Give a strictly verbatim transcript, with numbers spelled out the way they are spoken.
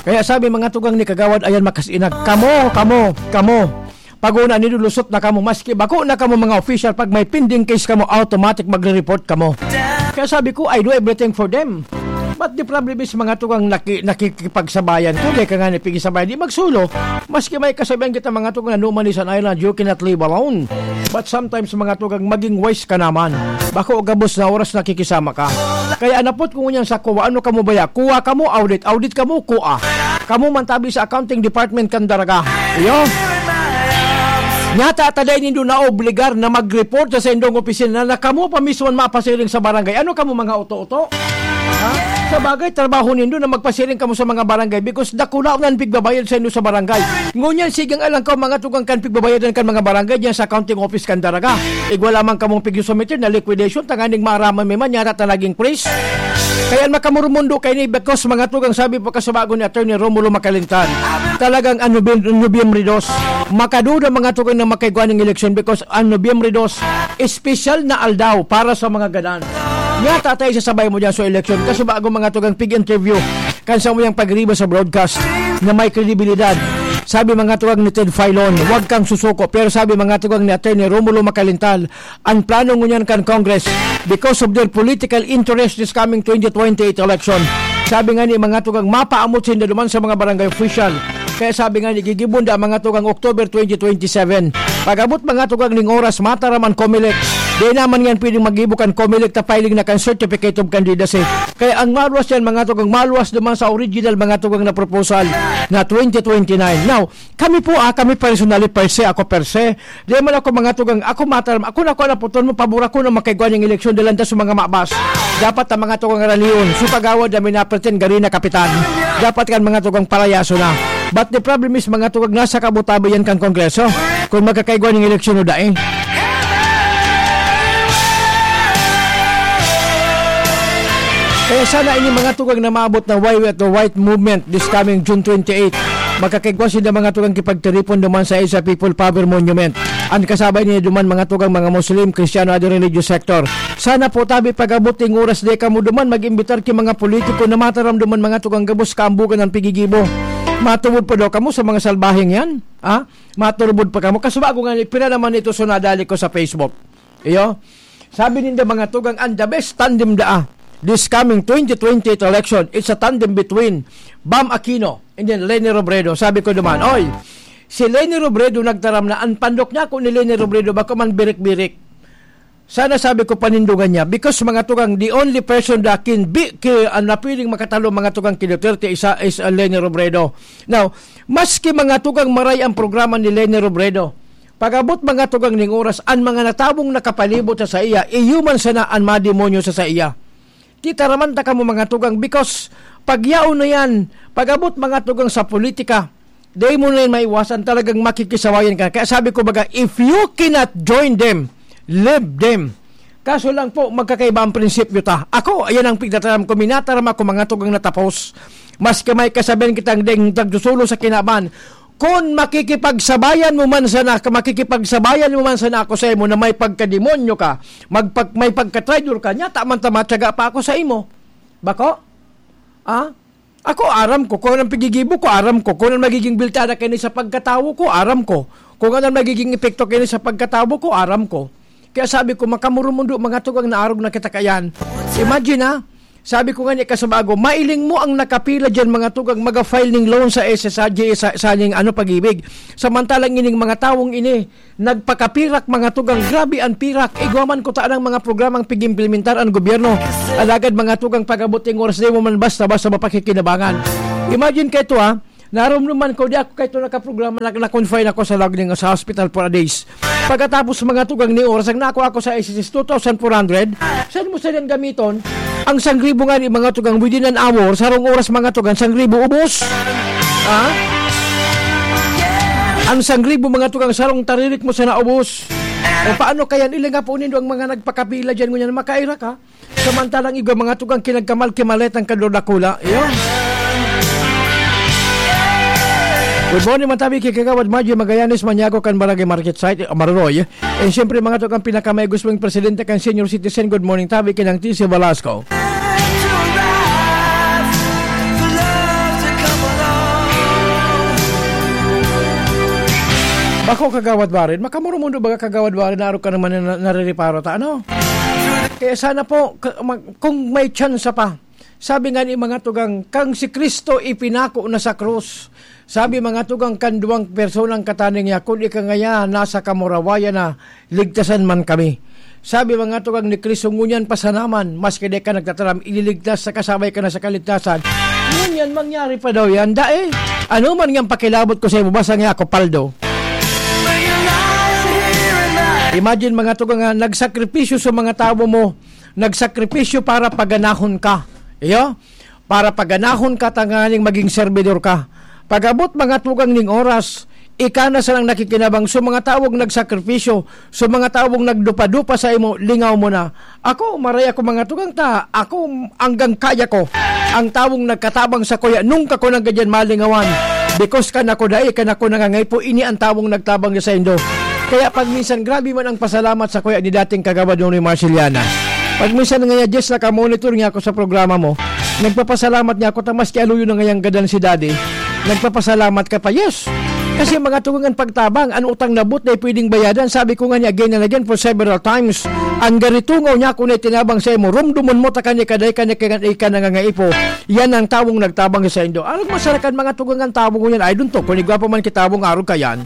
Kaya sabi, mga tugang ni Kagawad, ayan, makasinag. Kamo, kamo, kamo. Pag-una, nilulusot na kamo. Maski bako na kamo mga official, pag may pending case kamo, automatic magre-report kamo. Kaya sabi ko, I do everything for them. But the problem is, mga tugang naki-, nakikipagsabayan ko, dahil ka nga ni pigisabayan, di magsulo. Maski may kasabihan kita, mga tugang, na no man is an island, you cannot live alone. But sometimes, mga tugang, maging wise ka naman. Bako gabos na oras nakikisama ka. Kaya anapot ko ngunyan sa kuwa, ano kamo baya? Kuwa kamo, audit. Audit kamo, kuwa. Kamo man tabi sa accounting department kan Daraga. Iyo. Nyata ta dai nindo naobligar na mag-report sa saindong opisina na kamo pa mismo an mapasiring sa barangay. Ano kamo, mga oto-oto? Ha? Sa bagay, trabaho nindo na magpasiring kamo sa mga barangay because dakula na an pigbabayad saindo sa barangay. Ngunyan, sigang alang ka, mga tugang, kan pigbabayadan kan mga barangay diyan sa accounting office kan Daraga. Igwa lamang kamong pigsusumiter na liquidation, tanganing maaraman mi man, nyata ta naging freeze. Kaya makamurumundo kaini because, mga tugang, sabi po kasubago ni Attorney Romulo Macalintal, talagang an Nobem-, Nobyembre dos, makaduda, mga tugang, na makaigwa ning eleksyon because an Nobyembre dos, espesyal na aldaw para sa mga gadan. Nyata ta isasabay mo diyan sa eleksyon. Kasubago, mga tugang, pig-interview kan samuyang pagriba sa broadcast na may kredibilidad. Sabi, mga tugang, ni Ted Filon, "Huwag kang susuko." Pero sabi, mga tugang, ni Attorney Romulo Macalintal, an plano ngunyan kan Congress because of their political interest this coming twenty twenty-eight election. Sabi nga ni, mga tugang, mapaamot sinda duman sa mga barangay official. Kaya sabi nga ni, gigibon da, mga tugang, October twenty twenty-seven. Pag-abot, mga tugang, ning oras, mataram an Comelec. Di naman yan pwedeng magibo kan Comelec ta filing na kan certificate of candidacy. Kaya ang maluwas yan, mga tugang, maluwas duman sa original, mga tugang, na proposal na twenty twenty-nine. Now, kami po, ah, kami personally, per se, ako per se, di man ako, mga tugang, ako mataram, ako na, ako na puton mo, pabor ako na makaigwa ning eleksyon, dalan ta sa mga mabas. Dapat ang mga tugang raliyon, so kagawad na minapretend gari na kapitan. Dapat kan mga tugang palayaso na. But the problem is, mga tugang, nasa kabutabi yan kan Kongreso, kung magkakaigwa ning eleksyon o dai. Kaya sana ini, mga tugang, na maabot na why we at the white movement this coming June twenty-eight. Magkakaigwa sinda, mga tugang, kipagtiripon duman sa Asia People Power Monument. An kasabay niya duman, mga tugang, mga Muslim, Kristiyano, other religious sector. Sana po tabi pag-abot ning oras, di kamo duman mag-imbitar ki mga politiko na mataram duman, mga tugang, gabos kaambugan an pigigibo. Matubod pa daw kamo sa mga salbaheng yan? Ha? Maturubod pa kamo? Kasubago nga ni, pira naman ito so nadali ko sa Facebook. Iyo. Sabi ninda, mga tugang, ang the best tandem daa this coming twenty twenty-eight election, it's a tandem between Bam Aquino and then Leni Robredo. Sabi ko duman, "Oy, si Leni Robredo nagtaram na an pandok niya, ako ni Leni Robredo, bako man birik-birik." Sana, sabi ko, panindogan niya. Because, mga tugang, the only person that can be, ki-, ah, na pwedeng makatalo, mga tugang, ki Duterte is, ah, is, ah, Leni Robredo. Now, maski, mga tugang, maray ang programa ni Leni Robredo, pag-abot, mga tugang, ning oras, an mga natawong nakapalibot sa saiya, iyo man sana an mademonyo sa saiya. Titaraman ta kamo, mga tugang, because pag yaon na yan, pag-abot, mga tugang, sa politika, dai mo na yan maiwasan, talagang makikisawayan ka. Kaya sabi ko, baga, if you cannot join them, leave them. Kaso lang po, magkakaiba ang prinsipyo ta. Ako, ayan ang pigtataram ko, minataram ako, mga tugang, na tapos. Maski may kasabihan kitang deng tagsusulo sa kinaban, kun makikipagsabayan mo man sana, makikipagsabayan mo man sana ako sa imo na may pagkademonyo ka, magpag-, may pagkatraidor ka, nyata man ta matyaga pa ako sa imo. Bako? Ah? Ako, aram ko. Kung anong pigigibo ko, aram ko. Kung anong magiging bilta na kaini sa pagkatawo ko, aram ko. Kung anong magiging epekto kaini sa pagkatawo ko, aram ko. Kaya sabi ko, makamurumundo, mga tugang, na arog na kita kayan. Imagine, ha? Sabi ko nga ni kasubago, mailing mo ang nakapila dyan, mga tugang, maga-file ning loan sa S S G, sa, sa ning, ano, Pag-ibig. Samantalang ining mga tawong ini, nagpakapirak, mga tugang, grabe ang pirak. Igwa man ko ta ang mga programang pig-implementar ang gobyerno. Alagad, mga tugang, pag-abot ning oras, di mo man basta-basta mapakikinabangan. Imagine kayo to, ha? Narumduman ko, di ako kaito nakaprograma, na, na-confine ako sa lagning sa hospital for a days. Pagkatapos, mga tugang, ni oras, ang nako ako sa S S S two thousand four hundred, saan mo sa gamiton? Ang sangribo nga ni, mga tugang, within an hour, sarong oras, mga tugang, sangribo ubos. Ha? Ang sangribo, mga tugang, sarong taririk mo sa naubos. O paano kaya nila nga po nindo ang mga nagpakapila dyan, ngunyan, makaira ka? Samantalang igwa, mga tugang, kinagkamal-kimalet ang kadodakula. Iyo. Good morning, man tabi, ki Kagawad Margie Magallanes, Maniago, kan Barangay Market Site, Maruroy. And siyempre, mga tugang, pinakamaigos mong presidente kan senior citizen, good morning, tabi, kinang T C Velasco. Ako, Kagawad Warren, makamurumundo baga, Kagawad Warren, na arog ka naman na, na, narireparo ta, ano? Kaya sana po, ka-, mag-, kung may tsansa pa, sabi nga ni mga tugang, "Kang si Cristo ipinako na sa krus." Sabi mga tugang, "Kan duwang personang kataning niya, kun ika ngaya nasa kamurawayan na, ligtasan man kami." Sabi mga tugang ni Cristo, "Ngunyan pa sana man, maski di ka nagtataram, ililigtas sa kasabay ka na sa kaligtasan." Ngunyan, mangyari pa daw yan, dai? Ano man nga pakilabot ko sa imo, basta nga ako, paldo. Imagine, mga tugang, nga nagsakripisyo sa mga tawo mo, nagsakripisyo para paganahon ka. Iyo? Para paganahon ka tanganing maging servidor ka. Pag-abot, mga tugang, ning oras, ika na sanang nakikinabang sa mga tawong nagsakripisyo, sa mga tawong nagdupa-dupa sa imo, lingaw mo na. Ako, maray ako, mga tugang, ta, ako, anggang kaya ko. Ang tawong nagkatabang sa kuya, nung ka ko nang gadyan malingawan. Because kan ako dai, kan ako nangangaipo, ini ang tawong nagtabang sa indo. Kaya pag minsan, grabe man ang pasalamat sa kuya ni dating Kagawad Nonoy Marceliana. Pag minsan nga, Jess, nakamonitor niya ako sa programa mo, nagpapasalamat niya ako, ta maski aluyon na ngayang gadan si Daddy, nagpapasalamat ka pa. Yes! Kasi, mga tugang, an pagtabang, an utang na buot na pwedeng bayadan. Sabi ko nga niya again and again for several times, ang garitungaw niya ako na itinabang sa imo, rumdumon mo, ta kani ka dai, kani ka, ika nangangaipo, yan ang tawong nagtabang sa indo. Arog masarakan, mga tugang, an tawo ngunyan, I don't know, kung igwa pa man kitawong arog ka yan.